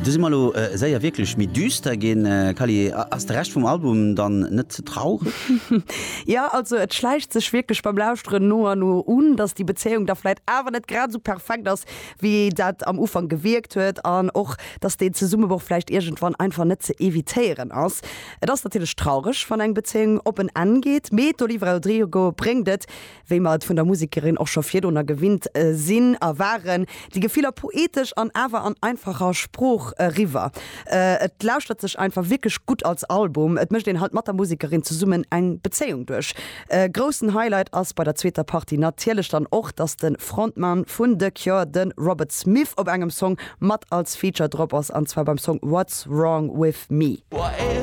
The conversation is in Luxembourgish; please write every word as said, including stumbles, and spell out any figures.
Du si mer lo äh, séier wierklech méi düster ginn äh, Kali ass de Rescht vum Album dann net ze traureg? Ja also et schläicht sech wierklech beim Lauschteren no an no un, dass déi Bezéiung da vläicht awer net grad sou perfekt ass, wéi dat am Ufank gewierkt huet an och dass den Zesummebroch vläicht iergendwann einfach net ze evitéieren ass. Et ass natierlech traureg wann eng Bezéiung op en Enn geet. Mee d'Olivia Rodrigo bréngt et, wéi mer et vun der Musekerin och scho virdrunner gewinnt äh, sinn a waren, déi Gefiller poetesch an awer an einfacher Sprooch eriwwer. Äh, et lauschtert sech einfach wierklech gutt als Album. Et mécht een halt mat der Musekerin zesummen eng Bezéiung duerch. Äh, groussen Highlight ass bei der zweeter Partie natierlech dann och, dass de Frontmann vun The Cure, de Robert Smith op engem Song mat als Feature drop ass an zwar beim Song What's Wrong with Me. What